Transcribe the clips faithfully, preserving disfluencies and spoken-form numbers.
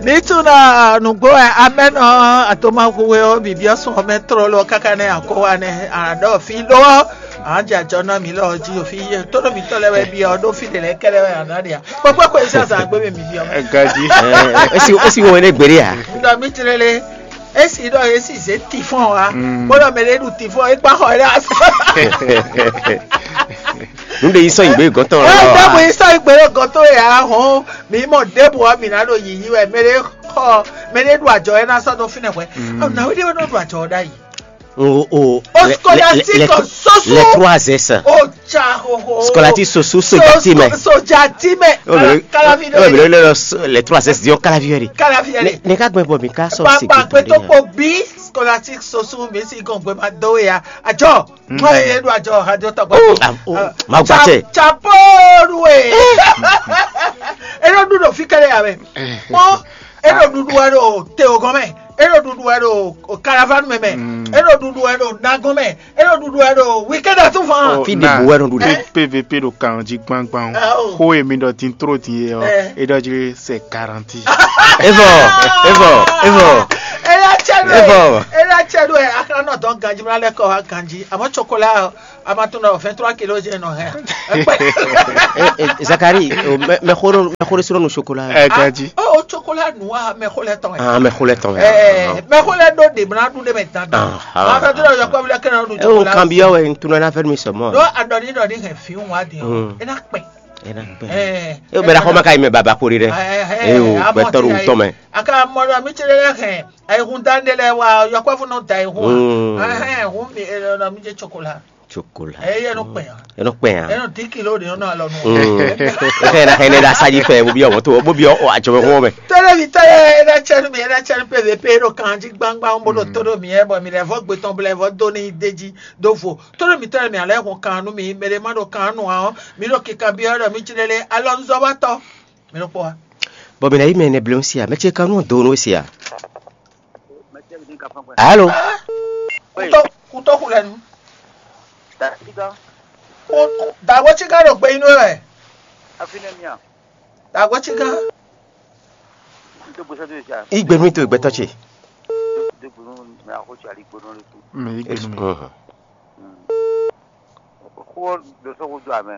Ní tún ná nǔgbó wɛ amɛ́nɔ adomaxuwe ɔ́ bǐbí ɔ́ sɔn mɛ tlɔlɔ káká nɛ́ akɔwa nɛ́ aɖɔ fí ɖó ɔ́, àjajɔ ná mǐ lɔ jí òfin yé tónú mǐtɔn lɛ́ wɛ byɔ́ ɖó fí ɖě lɛ́ɛ kɛ́lɛ́ wɛ àná ɖe ǎ. Kpɔkpɔ kó iṣẹ́ àzà gbé mi mǐ byɔ́ mɛ. Gaji. Esi esi wɔn ne gbeɖe a. Ɖɔ mí tlélé esi ɖɔ esi zé tifɔn wa bó ɖɔ mɛ ɖé ɖu tifɔn é kpa xɔ é ɖe asɔ. Nu ɖe yi sɔ yi gbé gɔtɔn Ɛ lɔ. dɔbɔ yi sɔ igbe ɖo gɔtɔ ya hɔn mi mɔ ɖěbù ɔ mi ná ɖo yiyi wɛ mɛ ɖé xɔ mɛ ɖé ɖu àjọ ɛ ná sɔ dó fínɛ hwɛ. Ɔ nàwé ɖé wɛ nɔ ɖu àjɔ ɔ ɖ'ayǐ. O o. O scolastique soso. Les trois S. O tsa xoxo. Scolastique soso soja ti mɛ. Soja ti mɛ. Kalavi Ɔ bɛ ɖe. lɛ les trois S diɔ kalavi yɛ de. Kalavi yɛ de. Ne ka gbɛn bɔ mi ka sɔ se Gbagba gbe tó kpo bí scolastique soso mi si gɔn gbe ma dó ya. Àjọ. Mɔ ye ɖu àjɔ àjọ tɔgbɔ. Ma gba tɛ. Chapeau loué. Eno ɖu ɖo fi kɛlɛ ya mɛ. Mɔ eno ɖuɖu wɛ ɖo teo gɔn mɛ. Eno ɖuɖu wɛ ɖo caravane mɛ mɛ. Eno ɖuɖu wɛ ɖo nagon mɛ. Eno ɖuɖu wɛ ɖo weekend atúfan. Fi de bu wɛ nɔ ɖu ɖe. P V P ɖo kan jí gbangban Ah, oh. o. Xó e mi ɖɔ din tró din e ɔ, Eh. e ɖɔ jí c'est garanti. Evɔ evɔ evɔ. Ena cɛ do Evɔ. ɛ. Ena cɛ do ɛ. Akana nɔ dɔn ganji mla lɛ kɔ ha ganji. Amɔ chocolat ɔ, a ma tún nɔ vingt trois kilos jɛ nɔ hɛn. Zakari, mɛxó ɖé sɔrɔ nu chocolat. Ɛ gaji. O chocolat noir mɛ xo lɛ tɔn ɛ. Ah, mɛxó lɛ tɔn. Ɛɛ mɛ xo lɛ do de mla du de mɛ dandan. Ah, ah. A fɛ to dɔ yɔkɔ bi lɛ kɛnɛ nu E o chocolat. Kanbiya wɛ n tunɔ na fɛ mi sɔmɔ. Do adɔni dɔni hɛn fi wa di o. Mm. Ena kpɛ. Ena kpɛ. Ɛɛ. E o bɛra xɔma ka yi mɛ baba kori dɛ. E o gbɛtɔ ɖo wutɔ mɛ. Aka mɔ dɔ mi tse ɖe lɛ hɛn. Ayihun dan de lɛ wa yɔkɔ fún nɔ da ayihun. Mm. Ɛhɛn hun mi ɛ nɔ mi jɛ chocolat. Chocolat. Eye no kpɛ ya. E nɔ kpɛ ya. Eno di kilo de nɔ alɔ nu. Mm. E fɛ na xɛ ne ɖe asadzi fɛ bo bi ɔmɔ to bo bi ɔ adzɔmɛ xɔ mɛ. Tɔlɔ mi tɔlɔ ena tsɛ nu mi ena tsɛ nu P V P ɖo kan dzi gbangban bo ɖo to ɖo mi yɛ bɔ mi lɛ vɔ gbetɔn bo lɛ vɔ do ni de dzi do vo tɔlɔ mi tɔlɔ mi alɛ hun kan nu mi mɛ ɖe ma ɖo kan nu a ɔ mi ɖo kika bi ɔ ɖɔ mi tsi lele alɔ nuzɔwatɔ mi ɖo kpɔ wa. Bɔn mi na yi mɛ ne bleun sia mɛ tse kanu do no sia. Alo. Kutɔ kutɔ ku lɛ nu. Dagbo tsi ka ɖo gbe yi nu wɛ. Dagbo tsi ka. Igbe nu to gbɛtɔ tse. Mɛ yi gbɛnu mi. Xó ɖo sɔ́ xó dó amɛ.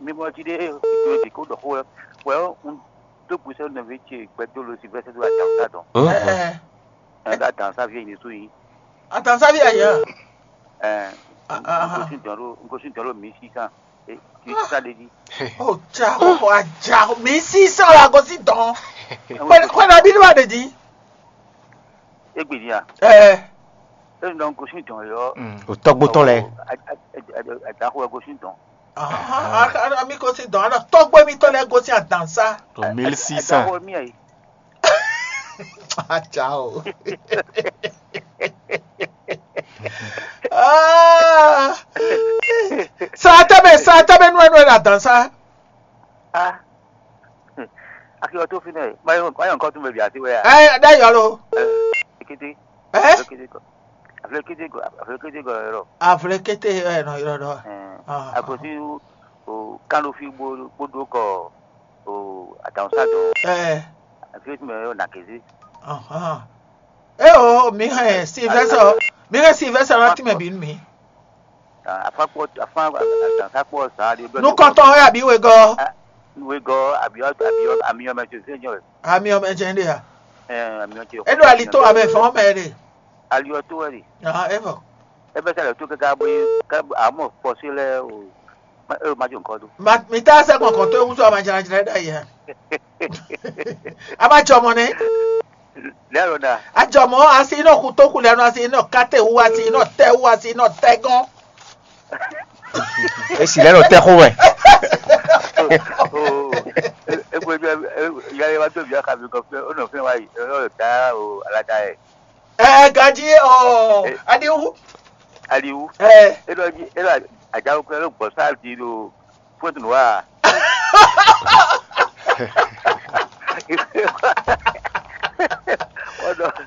Mímɔ jí ɖé ɖo dǐ kó ɖɔ xó wɛ wɛ un dó gbèsè nɔví ce gbɛdó lo si vɛsɛ dó adǎn dɔn. Ɛɛ Ɛn ɖo adǎn sa vie ní sú yìí. Atansavi aya. Ɛn un gosín dɔn ɖo un gosín dɔn ɖo mí sísán. Mí sísán ɖe jí. O ja o aja mí sísán la gosín dɔn. Kɔnɔ bí ní wà ɖe jí. Égbè ní a. Ɛɛ. Enu ɖɔ un gosín dɔn yɔ. O tɔgbo tɔn lɛ. Adaxo ɛ gosín dɔn. Ahan, a- a- mi gosín dɔn, a tɔgbo mi tɔn lɛ gosín adansa. To mille six cents. Adaxo mi ayi. Aja o. Ah. Srata mɛ, srata mɛ nua nua la dansa. Ah. Akiyɔ tó fi nɛ. Mayɔ mayɔ nǹkan tún bɛ bi àti wɛ ya. Ɛ, da yɔ lo. Kété. Ɛ? Kété kɔ. Aflɛ kété kɔ. Aflɛ kété kɔ yɔrɔ. Aflɛ kété ɛ nɔ yɔrɔ dɔ. Ɛn. Akosi o kánlófi gbódó kɔ o àtàwọn sádùn. Ɛ. Àfi tí mo yọ nà kézé. Ɛ o mi hɛn silvɛsɛ mi hɛn silvɛsɛ lɔ tìmɛ bi mi. Afakpɔ afan àtàwọn sápɔ sàn á di. Nukɔntɔn ɛ àbí wegɔ. Wegɔ àbí àbí àmì ọmọ ẹtì òsè jọ. Àmì ọmọ ẹtì ẹni ya. Àmì ọtí. Edo alito amẹ fọn mẹ de. Aliyɔ tó wẹ̀ de. Ɛ fɔ. Ebe sɛ le tó kɛkɛ bɔ yi kɛ amɔ kpɔsi lɛ o. E ma jo nǹkan do. Ma mi ta sɛ kɔkɔ tó ewu sɔ ma jara jara da yɛ. A ma jɔ mɔ ne. Lɛ lɔ da. A jɔ mɔ asi inɔ kutoku lɛ nɔ asi inɔ kate wu asi inɔ tɛ wu asi inɔ tɛ gɔn. Esi lɛ nɔ tɛ xo wɛ. Egbe bi ya ya wa to bi ya ka bi kɔ fɛ o nɔ fɛ wa yi o nɔ da o ala da yɛ. Ɛ gaji ɔ adiwu. Adiwu. Ɛ. E lɔ ji e lɔ ajawo kɛ lɔ gbɔ sa di do fóònù wa.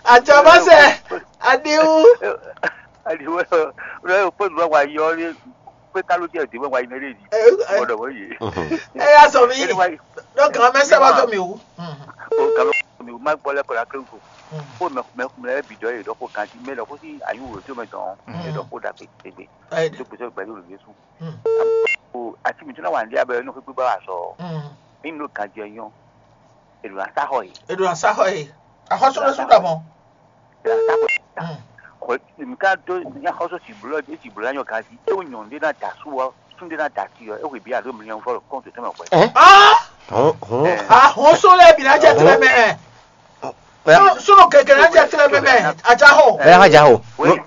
Àjàmásẹ̀ adiwu. Adiwu ɛ lɔ fóònù wa wa yɔ ni pé káló tiẹ̀ dì wọ́n wa yi mẹ́lẹ́ yìí. Gbọ́dọ̀ wọ́n yìí. Ẹ yà sọ mi. Donc, un message à ton miro. O galo mi ma gbɔ lɛ kɔ la kle ko. Ko mɛ mɛ mɛ bidɔ ye dɔ ko kanti mɛ dɔ ko si ayu wo to mɛ dɔn e dɔ ko da pe tegbe. To gbèsè gbɛdú lè Jésù. O ati mi tún náà wà ní abẹ ní o fi gbígbá wà sọ. Ní ló kan jẹ yán. Èlò àtàkọ yìí. Èlò àtàkọ yìí. Àkọsílẹ̀ sùn dàbọ̀. Èlò àtàkọ yìí. Kò nǹkan tó ní àkọsọ sì bùlọ ní sì bùlọ yàn kan sí. E o nyàn dé náà dà sú wa, sún dé náà dà sí ọ. E wò bí àdó mi yàn fọlọ kóńtò tó mẹ pẹ. Ẹ? Hɔn hɔn. Ahun sólè bìnà jẹ tẹlẹ mẹ ẹ. Sunu kẹkẹ náà jẹ tẹlẹ mẹ mẹ. Àjàhò. Ẹ ha ja o.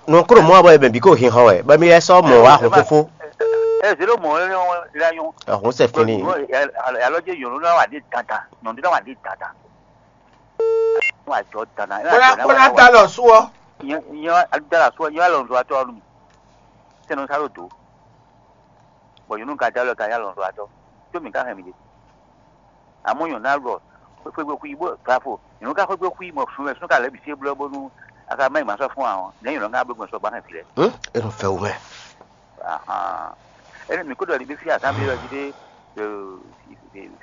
Nù kúrò mọ́ àbọ̀ ẹ̀bẹ̀ bí kò hin hàn wẹ̀ bẹ́ẹ̀ mi ẹ sọ mọ̀ wá hun fúnfún. Ẹ zéro mọ̀ ẹ lẹ́yìn. Ọ̀hún ṣe fínní. Alọ́jẹ́ yòló náà wà dé dandan, yòló náà wà dé dandan. Wọ́n àjọ dandan. Kóná kóná da lọ sú ọ. Ìyẹn ìyẹn da lọ sú ọ, ìyẹn wà lọ nzọ atọ́ ọdún mi. Sẹ́nu sáré òdò. Bọ̀ yòló ka da lọ ka yà lọ nzọ atọ́. Tó mi ká hẹn mi dé. Àmọ́ yàn náà lọ. Xwégbé kú yìí bó bravo. Yàn ká xwégbé kú yìí mọ̀ fún ẹ sún ká lẹ́bi sí blọ́ bónú. Aka má ìmọ̀ sọ fún àwọn. Lẹ́yìn lọ́n ká bló gbọ̀n sọ gbá hẹn filẹ̀. Ẹ lọ fẹ́ wú mẹ́. Ahan. Ẹni mi kó dɔ ní bí fi àtàn bí lọ jí dé.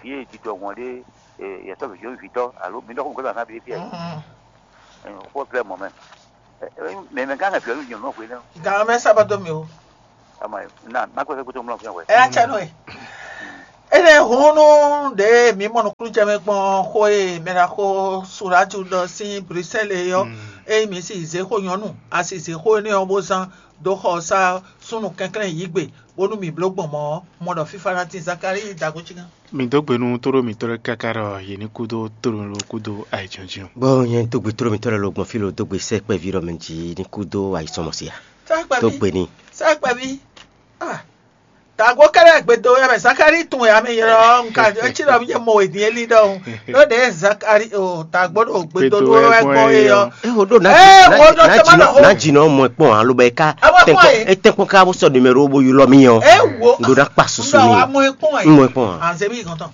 Fi èjì dọ̀ wọ́n dé. Yàtọ̀ fi yóò fi tọ́. Àló mi dọ́kun kó dọ̀ àtàn bí fi ẹ̀. Kó fẹ́ mọ̀ mẹ́. Mɛ mɛ gán hɛn fìlɛ nú nyɔ̌nu ɔ́ hwe nɛ́. Gǎn mɛ sábà dó mì o. Ama na má kó fẹ́ kó tó mlɔ fún ẹ. Ɛ atsɛ nɔ ɛ. Ene hunu ɖe mǐ mɔ nukúnnú jɛ mɛ gbɔn xó e mɛɖaxó Suratu ɖɔ sín Bruxelles é ɔ́, eye mǐ si zě xó nyɔ̌nu, a si zě xó énɛ́ ɔ́ bó zán dó xɔ sá súnnu kɛnklɛ́n yǐ gbe, bónú mǐ bló gbɔn mɔ̌ ɔ́, mɔ ɖɔ fífá ná tín Zakalíi dó agó cígán. Mi dó gbe nú tóɖó mǐtɔn lɛ́ɛ káká ɖɔ yě ní kú dó tóɖó ló kú dó ayǐjínjɔ́n. Bó nyɛ dó gbe tóɖó mǐtɔn lɛ́ɛ ló gbɔn fí lo dó gbe sɛ́ kpɛví ɖɔ mɛ jí ní kú dó ayǐsɔmɔsí a? Sɛ́ kpɛví. Dó gbe ní. Sɛ́ kpɛví. Ah. Tàgó kɛ́ɖɛ́ gbedo wɛ mɛ Zakalíi tun wɛ ami ylɔ́ nka eci ɖɔ mi nyɛ mɔ wɛ din eli ɖɔhun. Ɖó ɖe Zakalíi o tàgó ɖo gbedo ɖó wɛ gbɔn é ɔ́. E wo ɖo na Ee, wo ɖo tɛ ma ɖɔ xó. Na dzi nɔ mɔ kpɔn alo bɛ ka Abo kpɔn ye. E tɛ kpɔn ka bo sɔ numéro bo ylɔ mi ɔ́. Ee, wo. N ɖo na kpa susu N ɖɔ mi. Wa mɔ ekpɔn ye. N mɔ kpɔn. Anze mi gɔntɔn.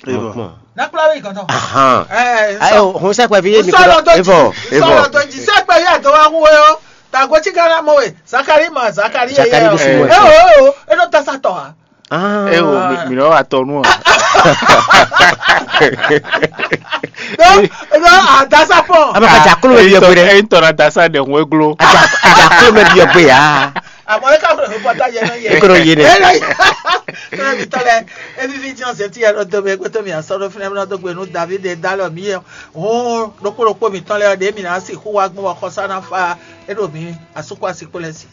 Mɔ kpɔn. Na kpla mi gɔntɔn. Ahan. Ee, Ayo, hon sɛ kpɛ fi ye mi Sɔlɔ kɔ. Dɔ Evɔ, dzi. Evɔ. Sɔlɔ dɔ dzi. Sɛ kpɛ ya dɔ wa hu ye o. Tàgó tsi ka na mɔ we. Zakari ma, Zakari ye. Zakari ye, do o. Sumo. E o, e o, e nɔ tasa tɔ ha. Ah. E o, mi mi nɔ wa tɔ nu a. Donc, donc, a dasa pɔn. Ama ka ja kolo bɛ bi yɔ gbe dɛ. E tɔ na dasa de ŋue glo. A ja a ja kolo bɛ bi yɔ gbe ya. Àmọ́ ẹ ká fẹ́ fún pátá yẹn náà yẹ. E kolo ye dɛ. Ẹ lọ yẹ. Ẹ bí tọ́lẹ̀, ẹ bí fi jẹun ṣe tí ẹ lọ dọ́ mi, ẹ gbé tó mi àsọ̀rọ̀ fún ẹ mi náà tó gbé nu David ẹ dá lọ mí yẹ. Òun lókpólókpó mi tọ́lẹ̀ ọ̀dẹ́ mi náà sì kú wá gbọ́n ọkọ sáná fa ẹ lò mí àsopọ̀ àsìkò lẹ̀ sí.